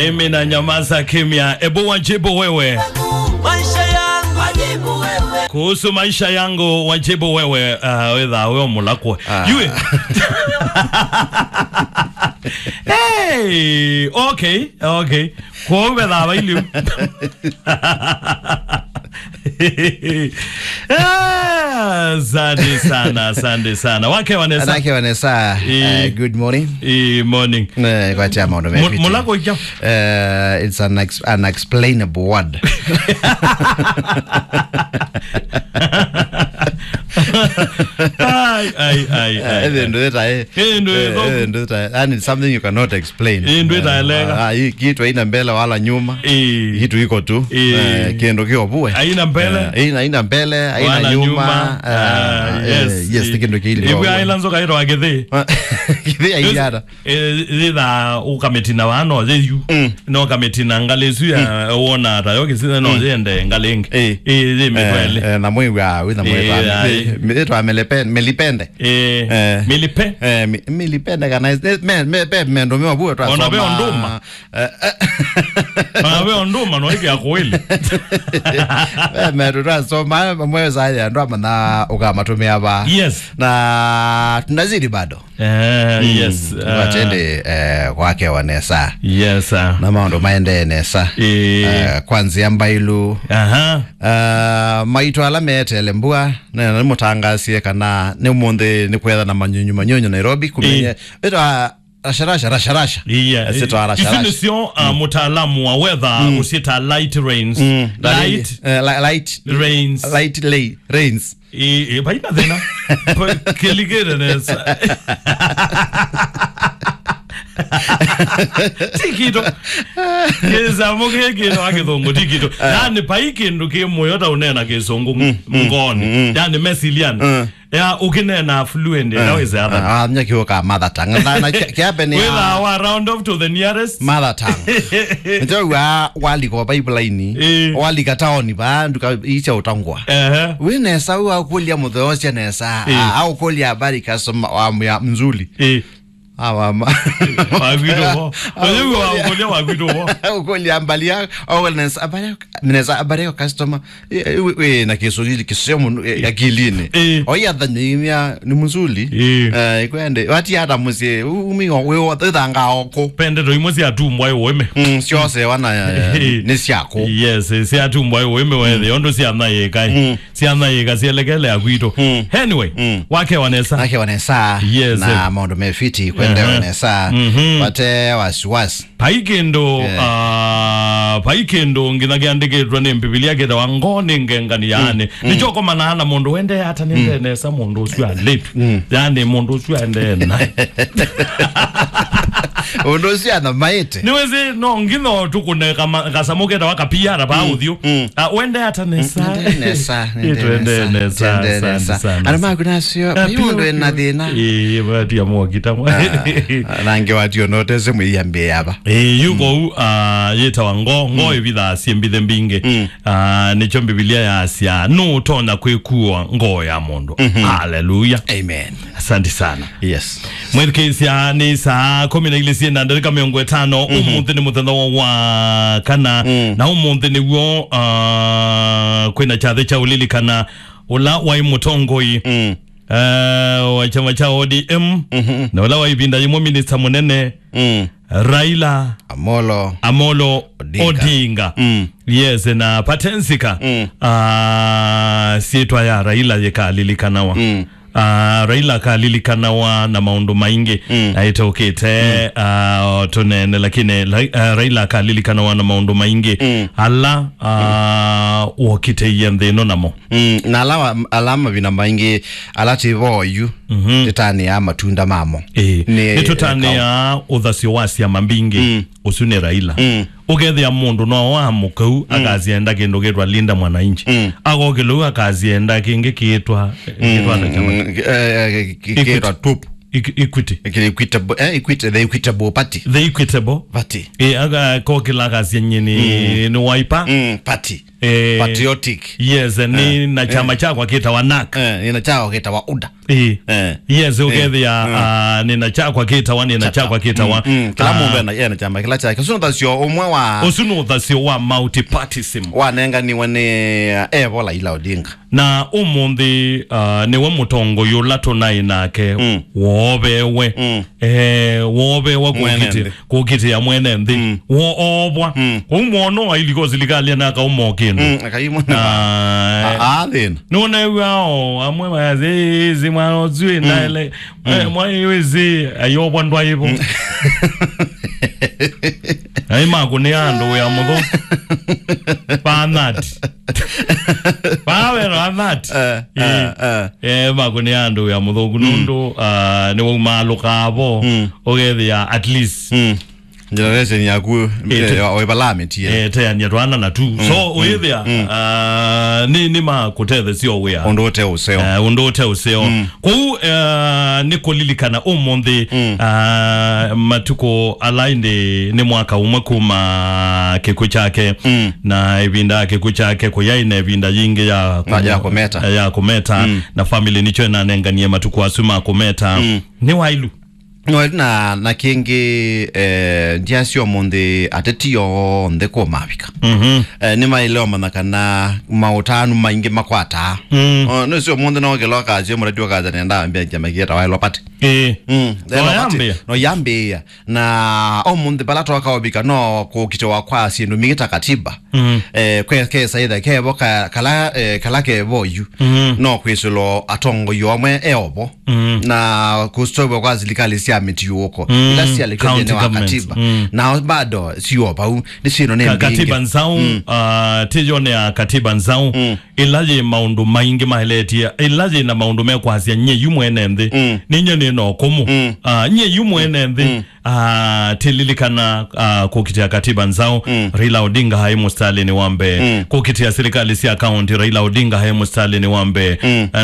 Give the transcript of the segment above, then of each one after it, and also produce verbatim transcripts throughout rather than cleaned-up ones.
Mimi na nyamaza kimya. Ebu wajibu wewe. Maisha yangu, wajibu wewe. Kuhusu maisha yangu, wajibu wewe. Ah, wetha we omulakwe. Ah. Yue. Hey, okay, okay. Kwa wetha wa iliu. Ah, asante sana, asante sana. Wake Vanessa. Wake Vanessa. Eh, eh, good morning. Eh, morning. Eh, kwa chama ndo mepita. Mulako ikya? Eh, it's an ex-, unexplainable word. Ai, ai, ai, ai. Eh, ndo eta, eh. Eh, ndo eta. Eh, ndo eta. And it's something you cannot explain. Eh, ndo eta, eh, elega. Ah, hii kitu haina mbele wala nyuma. Eh. Kitu iko tu. Eh. Eh, kiendo kio bue. Haina mbele. Eh, haina, haina mbele, haina nyuma. Wala nyuma. Ah, ah, eh, yes. Yes, eh, kiendo kile. Ibu aila nzoka ito agithe. Kithi aiyara. Eh, thitha ukametina wa no, yeyu. Mm. No kametina ngali isu ya, mm, wona ta yo kisithe no, mm, yende ngali ingi. Eh. Eh, ye mitwele. Eh, eh, na mwiwa, wina mwiwa. Eh, ai. Eh, mi-, itwa melepe-, melipende. Eh, eh, milipe. Eh, mi-, milipende kana is-, eh, me, me, pe, mendo me wabu twa. Ona be soma. Onduma. Eh, eh. Ona be onduma no ike akweli. Eh, me twa soma, mwe za ya ndo amana ukamatumia ba. Yes. Na tunazidi bado. Eh, mm, yes, ah. Watende, eh, kwake Vanessa. Yes, sir. Na maũndũ maendee nesa. Ĩĩ. Eh, kwa nzĩa mbailu. Aha. Ah, maitũ ala meetele mbua, na nĩmũtangasie kana nĩ ũmũnthĩ nĩ kwetha na manyunyu manyunyu Nairobi, kũmenye. Ĩĩ. Ĩtwa rasharasha, rasharasha. Iya. Ĩtwa rasharasha. Ici nĩcio, ah, mm, mũtaalamu wa weather, mm, ũciĩta light rains. Mm. Light, eh, li-, light rains. Light lay-, rains. Ĩ, ĩ, vaina thĩna. Kĩlikĩte nesa. Ti kĩndũ. Kĩsamũ kĩ kĩndũ wa kĩthũngũ, ti kĩndũ. Ah. Yani, vai kĩndũ kĩ mũyo ta ũneena kĩsũngũ, mm, mm, ngoni. Mm. Yani, mesiliani. Mm. Ya, ũkĩneena fluent, eh, that is the other. Ah, ah, nya kĩũka mother tongue. Na, na, kĩa-, kĩape nĩ ya wĩtha wa round off to the nearest mother tongue. Njo wa, walika o pipeline, eh, walika taoni, va, nduka icha ũtangwa. Ehe. Wĩ nesa, wĩ wa kũlya mũtheo cia nesa. Eh. Ah, au kũlya habari customer wa mya mzuli. Eh. Awa ma. Wa kwitũ vo. Oyu wa kũlya wa kwitũ vo. Kũlya habari ya, au nesa habari ya, nesa habari ya customer. Eh, eh, we, we, na Kiswahili kisio mũno, eh, akilini. Eh. Oya thanyimia ni mzuli. Eh. Eh, ikwende. Wati hata mũsyĩ, u-, umi o, we, o, thanga oko. Pende to imwe cia tumbwa iwe. Mm, siose wana, eh, eh, ni siako. Yes, eh, cia tumbwa iwe, mm, wethe, ondo cia naye kai. Mm. Syana yĩka syelekele ya kwitũ. Mm. Anyway, mm, wake Vanessa. Wake Vanessa. Yes, na eh, maũndũ me fiti, kwende, aha, Vanessa. Mhm. Vate wasiwasi. Vai kĩndũ, yeah, ah, vai kĩndũ nginya kĩandĩkĩtwe nĩ Mbivilia kĩtawa ngoo nĩ ngengani, yani. Mm. Nĩkyo ũkomanaa na mũndũ wende ata nĩ, mm, nde nesa mũndũ ũcio alĩtu. Mm. Yani mũndũ ũcio ende na. Ũndũ ũcio anamaĩte. Nĩwĩsĩ no nginya tũkũne kama-, kasamũ ketawa kapiara pa, mm, ũthiũ. Mm. Ah, wende ata nesa. Mm, nende nesa, nende nesa, nende nesa, nende nesa. Asante sana. Ana maku nasio, ah, yu ndo ena thĩna. Eh, wati ya mwakita mwa. Ah, nange wati onotese mwiyambie yaba. Eh, yu ko, ah, yetawa ngoo, ngoo, mm, ivitha sie mbithe mbingi. Mm. Ah, nĩkyo Mbivilia yasya, nũtonya kwĩkua ngoo ya mũndũ. Mhm. Hallelujah. Amen. Asante sana. Yes. Mwĩthukĩĩsya, nĩ saa kũmi na ilĩ syĩ na ndarĩka mĩongo ĩtano. Mhm. Ũmũnthĩ nĩ mũthenya wa, wa kana, mm, na ũmũnthĩ nĩw'o, ah, kwĩna kyathĩ kya ũlilikana ũla waĩ mũtongoi, mm, eh, wa kyama kya O D M, mhm, na ũla wa ĩvinda yĩmwe minista mũnene, mm, Raila Amolo Amolo Odinga. Odinga. Mm. Yes, na patensika, mm, ah, syĩtwa ya Raila yĩkalilikanawa. Mm. Ah, Raila akalilikanawa na maũndũ maingĩ, mm, na ĩtũkĩte, mm, ah, tũnene, lakini Ra-, ah, Raila akalilikanawa na maũndũ maingĩ, mm, ala, ah, wokitĩie nthĩ ĩno namo. Mm, na ala wa-, ala mavinda maingĩ, ala tĩ vo yu, mhm, tũtanĩaa matunda mamo. Ĩĩ. Nĩ, nĩtũtanĩaa ũthasyo wa syama mbingĩ, mm, ũsu nĩ Raila. Mm. Ũkethĩa mũndũ no wa mũkau, mm, akasyenda kĩndũ kĩtwa Linda Mwananchi. Mm. Agokĩlou akasyenda kĩngĩ kĩtwa, mm, kĩtwa na kyama. Mm, eh, eh, kĩ-, kĩtwa Equity. Tup. Equ-, Equity. Equi-, Equitable, eh, Equit-, the Equitable Party. The Equitable. Party. Eh, aga-, kokĩla akasya nyie nĩ, mm, nĩ Wiper. Mm, party. Eh, patriotic. Yes, eh, nĩ na kyama kyakwa kĩtawa nak. Eh, nĩ na kyakwa kĩtawa uda. Eh. Eh. Yes, ũkethĩa, ah, nĩ na kyakwa kĩtawa, nĩ na kyakwa kĩtawa. Mm, mm. Kĩla mũndũ ena, ena kyama kĩla kyake. Ũsu nĩ ũthasyo ũmwe wa, ũsu nĩ ũthasyo wa multipartyism. Wanenganiwe nĩ, eh, Evo Raila Odinga. Na ũmũnthĩ, ah, nĩwe mũtongoi ũla tũnaĩ nake woovewe. Mm. Eh, woovewa kũkitĩa, kũkitĩa mwene nthĩ. Mm. Woovwa. Mm. Kũu mwono wa iliko silikalĩ anaka ũmo kĩndũ. Mm, akai mwene. Ah, eh. Ah, ah, thĩna. Nũneew'aa o amwe mayasĩ, "Ĩĩ, ĩĩ, mwana ũsu ĩ ndaele." Eh, mwa ĩĩ, ĩĩ, ayovwa ndwaivo. Mm. Ai makũnĩa andũ wĩa mũthũ. Panati. Pawero anati. Eh, eh, eh. Eh, makũnĩa andũ wĩa mũthũku nũndũ, ah, nĩwaumalũkaa vo, ũkethĩa at least. Mm. Generation yaku, eh, eh, oivalamĩtie. Eh, teania twana na tu. So, ũyĩthĩa, ah, nĩ, nĩ makũtethesia wĩa. Ũndũ ũte ũseo. Eh, ũndũ ũte ũseo. Kwoou, eh, nĩ kũlilikana ũmũnthĩ, ah, matukũ ala ĩndĩ nĩ mwaka ũmwe kuma kĩkw'ũ kyake, na ĩvinda ya kĩkw'ũ kyake kũyaĩ na ĩvinda yingĩ ya kũmeta. Ya kũmeta, na family nĩkyo ĩnanenganie matukũ asu ma kũmeta. Nĩ wailu. No, na, na kĩngĩ, eh, ndia syo mũnthĩ ateti onthe kũmavika. Eh, nĩ maĩle ũmanya kana maũtanu maingĩ makwataa. Oh, nĩ syo mũnthĩ no kĩla ũkasya mũrati ũkasya nenda ambĩa kyama kĩetawa Elopati. Eh. Mm. No yambĩa. No yambĩa. Na ũmũnthĩ pala twakaa ũvika no kũkitĩwa kwa syĩndũ mingĩ ta katiba. Eh, kwe, kesa ithe kevo ka, kala, eh, kala kevo yu. No kwĩsĩlwa atongoi amwe eovo. Na kũstovwa kwa silikali sya mĩtiũũko. Ila sialekwa nthĩnĩ wa katiba. Na bado sio vau, nĩ syĩno nĩ mbingĩ. Katiba nzaũ, ah, tĩyone ya katiba nzaũ. Ĩla yĩ maũndũ maingĩ maeletie, ĩla yĩ na maũndũ mekwasya nyie yu mwene nthĩ. Nĩ nyie nĩ na ũkũmũ. Ah, nyie yu mwene nthĩ. Ah, tililikana, ah, kũkitĩa katiba nzaũ, Raila Odinga aĩ mũsitalĩnĩ wa mbee. Kũkitĩa silikalĩ sya kaunti, Raila Odinga aĩ mũsitalĩnĩ wa mbee.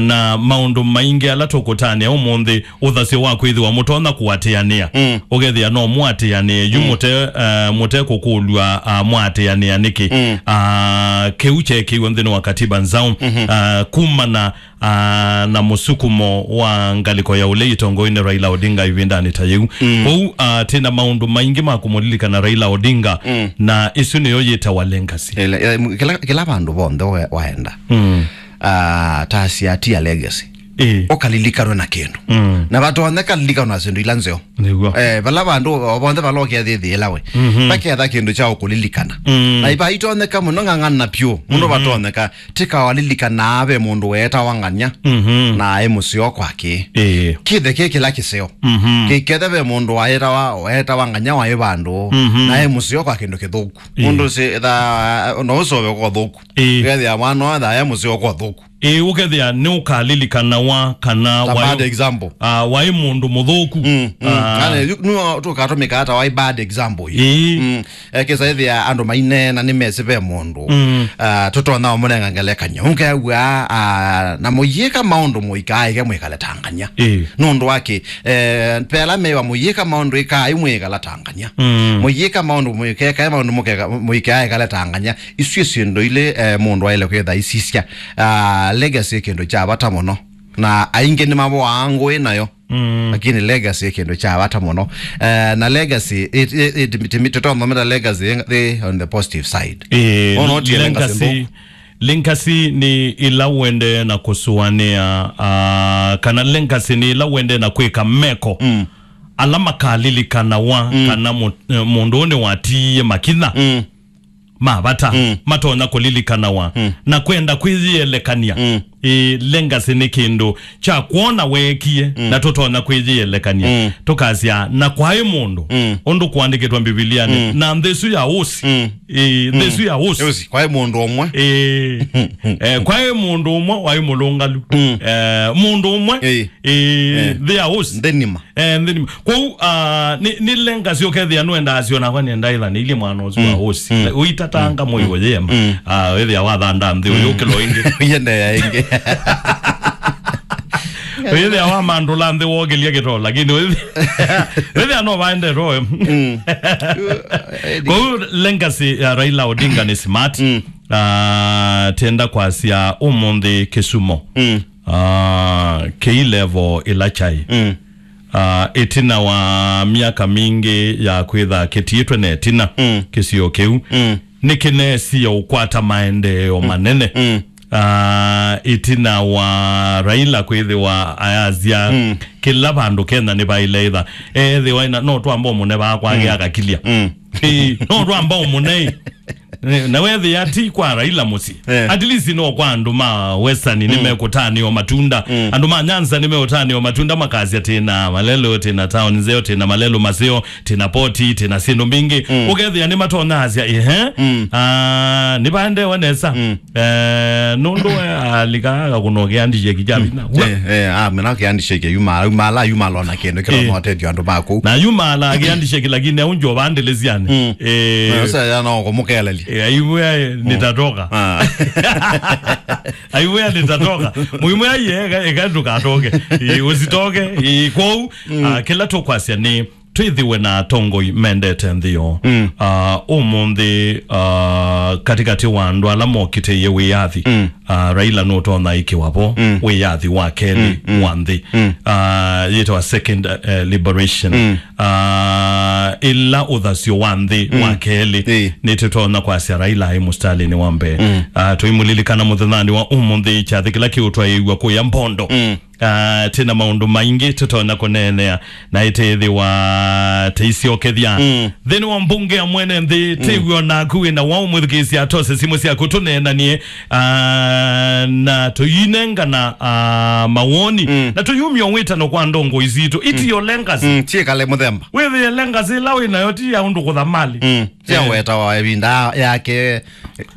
Na maũndũ maingĩ ala tũkũtanĩa ũmũnthĩ, ũthasyo wa kwĩthĩwa mũtonya kũatĩanĩa. Ũkethĩa no mũatĩanĩe, yu mũte, eh, mũte kũkũlw'a, ah, mũatĩanĩa nĩkĩ? Ah, kĩu kyeekĩiwe nthĩnĩ wa katiba nzaũ, ah, kumana ah, na mũsukumo wa ngalĩko ya ũlei ĩtongoinĩ Raila Odinga ĩvindanĩ ta yĩu. Kwoou, ah, twĩ na maũndũ maingĩ ma kũmũlilikana Raila Odinga, na ĩsu nĩyo yĩtawa legacy. Ĩla, ĩla, kĩla, kĩla vandũ vonthe we-, waenda. Ah, ta siatia legacy. Ĩĩ. Ũkalilikanwe na kĩndũ. Na vatonyeka lilikanwa na syĩndũ ila nzeo. Nĩw'o. Eh, vala vandũ o vonthe vala ũkethĩthĩĩla we. Vaketha kĩndũ kya ũkũlilikana. Na ivaitonyeka mũno ng'ang'ana vyũ. Mũndũ vatonyeka. Tika walilikanaa ve mũndũ weetawa Ng'anya, na aĩ mũseo kwake. Ĩĩ. Kĩthe kĩ kĩla kĩseo. Kĩkethe ve mũndũ waetawa, waetawa Ng'anya waĩ vandũ, na aĩ mũseo kwa kĩndũ kĩthũku. Ĩĩ. Mũndũ si, tha, no ũsove kwa ũthũku. Ĩĩ. Kethĩa mwana wa tha aĩ mũseo kwa ũthũku. Ĩĩ, ũkethĩa nĩ ũkalilikanawa kana ta waĩ, bad example. Ah, waĩ mũndũ mũthũku. Mm, mm. Ah. Kana yu, nĩwe tũkatũmĩka ta waĩ bad example. Ĩĩ. Mm. Ekĩsa ĩthĩa andũ maineena nĩmesĩ ve mũndũ. Mm. Ah, tũtonya ũmũnenga ngelekany'o. Ũkew'a, ah, na mũyĩka maũndũ mũikaaĩke mwĩkale ta Ng'anya. Ĩĩ. Nũndũ wa kĩ? Eh, pela mewa mũyĩka maũndũ ĩkaai mwĩkala ta Ng'anya. Mm. Mũyĩka maũndũ mũikekae maũndũ mũkeka-, mũikaaĩkale ta Ng'anya. Isu syĩndũ ilĩ, eh, mũndũ aĩle kwĩtha aisisya. Ah, legacy nĩ kĩndũ kya vata mũno. Na aingĩ nĩmavoaa ngũĩ nayo. Mm. Lakini legacy nĩ kĩndũ kya vata mũno. Eh, na legacy, it, it, it, it, tũtothomera legacy ĩ, ĩ on the positive side. Eh, ona ũtie legacy legacy, nthũ. Legacy nĩ ĩla ũendee na kũsũanĩa, ah, kana legacy nĩ ĩla ũendee na kwĩka meko. Mm. Ala makalilikanawa, mm, kana mũ-, eh, mũndũ ũũ nĩwatiie makinya. Mm. Ma vata, mm, matonya kũlilikanawa, mm, na kwenda kwĩyĩelekany'a. Mm. Ĩ, legacy nĩ kĩndũ kya kwona weekie, mm, na tũtonya kwĩyĩelekany'a. Mm. Tũkasya, na kwaĩ mũndũ, mm, ũndũ kũandĩkĩtwe Mbivilianĩ, mm, na nthĩ ĩsu ya ũsi. Mm. Ĩ, nthĩ ĩsu ya ũsi. Ũsi, kwaĩ mũndũ ũmwe. Ĩ, eh, kwaĩ mũndũ ũmwe waĩ mũlũngalu. Mm. Eh, mũndũ ũmwe. Ĩ. Ĩ, eh, nthĩ ya ũsi. Nthĩ nima. Eh, nthĩ nima. Kwoou, ah, nĩ, nĩ legacy ũkethĩa nũendaa syo nakwa nĩendaa ĩthanĩilye mwana ũsu wa ũsi. Mm. Ũitatanga mwĩĩ ũyĩema. Mm. Ah, wĩthĩa wathanda nthĩ ũyũkĩlwa ĩngĩ. Ũyĩendeea ĩngĩ. Ũyĩthĩa wamandũla nthĩ wokĩlya kĩtoo, lakini wĩthĩa, wĩthĩa no vaendetwe. Mm. Kwoou legacy ya Raila Odinga nĩ smart. Mm. Ah, tenda kwasya ũmũnthĩ kĩsumo. Mm. Ah, kĩi level ĩla kyaĩ. Mm. Ah, ĩtina wa myaka mingĩ ya kwĩtha kĩtiĩtwe na ĩtina, mm, kĩsio kĩu, mm, nĩkĩnesie ũkwata maendeeo, mm, manene. Mm. Ah, ĩtina wa Raila kwĩthĩwa ayasya, mm, kĩla vandũ Kenya nĩvaĩle ĩtha. Ethĩwa ĩna, no twamba ũmũne vaa kwake, mm, akakilya. Mm. Ĩĩ, no twamba ũmũne. Na wethĩa ti kwa Raila mũsyĩ. Eh. At least no kwa andũ ma Western, mm, nĩmekũtanĩo matunda. Mm. Andũ ma Nyanza nĩmekũtanĩo matunda makasya, "Tĩna Malelũ, tĩna town nzeo, tĩna Malelũ maseo, tĩna poti, tĩna syĩndũ mbingĩ." Mm. Ũkethĩa nĩmatonyaasya, "Ehe. Mm. Ah, nĩvaendeewe nesa." Mm. Eh, nũndũ we alika akakũnokea ndisheki kya, mm, vinya. Eh, eh, ah, mena kiandisheki yuma, yuma ala, yuma alona kĩndũ kĩla, eh, motethio andũ maku. Na yuma ala kiandisheki, lakini aunjo vandeleziane. Mm. Eh. Sasa ya no kũmũkelelia. Eh, aiwe, eh, mm, nitatoka. Ah. Aiwe nitatoka. Muhimu ya ye, eka, eka ndukatoke. Eh, usitoke. Eh, kwou, mm, ah, kĩla tũkwasya nĩ twĩthĩwe na atongoi mendete nthĩ yoo. Mm. Ah, ũmũnthĩ, ah, katĩkatĩ wa andũ ala mokitĩie wĩyathi, mm, ah, Raila nũtonya ĩkĩwa vo, mm, wĩyathi wa kelĩ, mm, mm, wa nthĩ. Mm. Ah, yĩtawa second, eh, liberation. Mm. Ah, ĩla ũthasyo wa nthĩ, mm, wa kelĩ. Ĩĩ. Nĩtũtonya kwasya Raila aĩ mũsitalĩnĩ wa mbee. Mm. Ah, tũimũlilikana mũthenyanĩ wa ũmũnthĩ kyathĩ kĩla kĩũtwaĩĩw'a kũya Mbondo. Mm. Ah, twĩ na maũndũ maingĩ tũtonya kũneenea, na ĩtĩthĩwa tĩisyokethya. Mm. Nthĩnĩ wa mbunge ya mwene nthĩ, mm, tĩw'o naku wĩ na waũ mwĩthukĩĩsya atose simũ syaku tũneenanie, ah, na tũyinengana, ah, mawoni, mm, na tũyumya wĩtano kwa ndongo isitũ. Itiyo, mm, legacy. Mm, tiĩkale mũthemba. Wĩthĩe legacy ĩla wĩ nayo ti ya ũndũ kũtha mali. Mm. Sya, eh, weta wa ĩvinda yake, eh,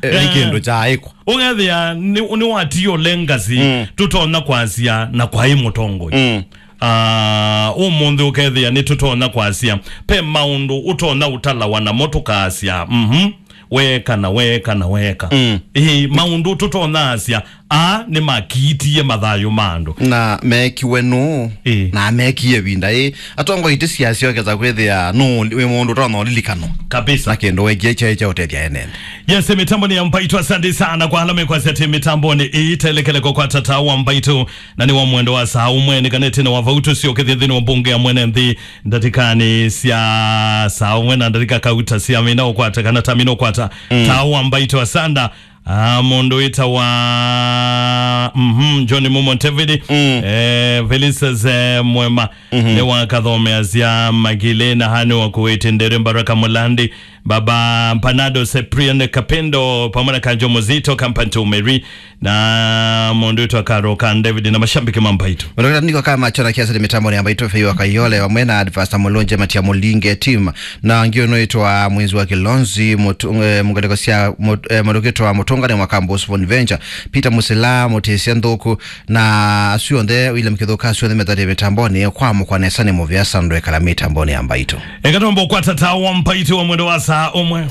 eh, nĩ kĩndũ kya ĩkwa. Ũkethĩa nĩ, nĩwatiĩe legacy, mm, tũtonya kwasya na kwaĩ mũtongoi. Mm. Ah, ũmũnthĩ ũkethĩa nĩtũtonya kwasya, pe maũndũ ũtonya ũtalawa namo tũkasya, mhm, weeka na weeka na weeka. Mm. Ĩĩ, maũndũ tũtonya asya, aa nĩmakiitie mathayũ ma andũ. Na meekiwe nũũ? Ĩĩ. Na meekie ĩvinda ĩ? Atongoi tĩsiasyokesa kwĩthĩa nũũ wĩ mũndũ ũtonya ũlilikanwa. Kabisa. Na kĩndũ weekie kyaĩ kya ũtethya ene nthĩ. Yes, mĩtambo nĩ ya Mbaitũ. Asante sana kwa ala mekwasya atĩ mĩtambonĩ ĩĩ telekele kwa kwata taa wa Mbaitũ, na nĩ wa mwendo wa saa ũmwe nĩkanĩte na wa vau tũsyokethya nthĩnĩ wa mbunge ya mwene nthĩ ndatĩkanĩ sya saa ũmwe na ndatĩka kauta sya mina ũkwata kana ta mina ũkwata. Mm. Taa wa Mbaitũ. Asanda. Ah, mũndũ wĩtawa, mhm, John Mumo Ntevili, mm, eh, Felicitas, eh, Mwema, mhm, nĩ wakathomeasya Magile na hani wa Kuwait, Ndere Mbaraka Mulandi, Baba Mpanado, Cyprian Kapendo, pamwe na Kanjo Muzito, Kampantu Mary, na mũndũ wĩtawa Karo Kan David na mashabiki ma Mbaitũ. Mũndũ niko kama chona kiasi ni mitambo ni Mbaitũ Fei wa Kayole, vamwe na Advasta Mulonje, Matia Mulinge, team, na ngio no itwa mwezi wa Kilonzi, mutu-, eh, mungaleko sia mut-, eh, mũndũ wĩtawa Mũtũngane wa Kambos Bonventure, Peter Musila, Mutesia Nthuku, na asu onthe, William Kithuka, asu onthe methatĩe mĩtambonĩ, kwa mũkwa nesa nĩ mũvea sandũ ekala mĩtambonĩ ya Mbaitũ. Eka twambe ũkwata taa wa Mbaitũ wa mwendo wa saa ũmwe.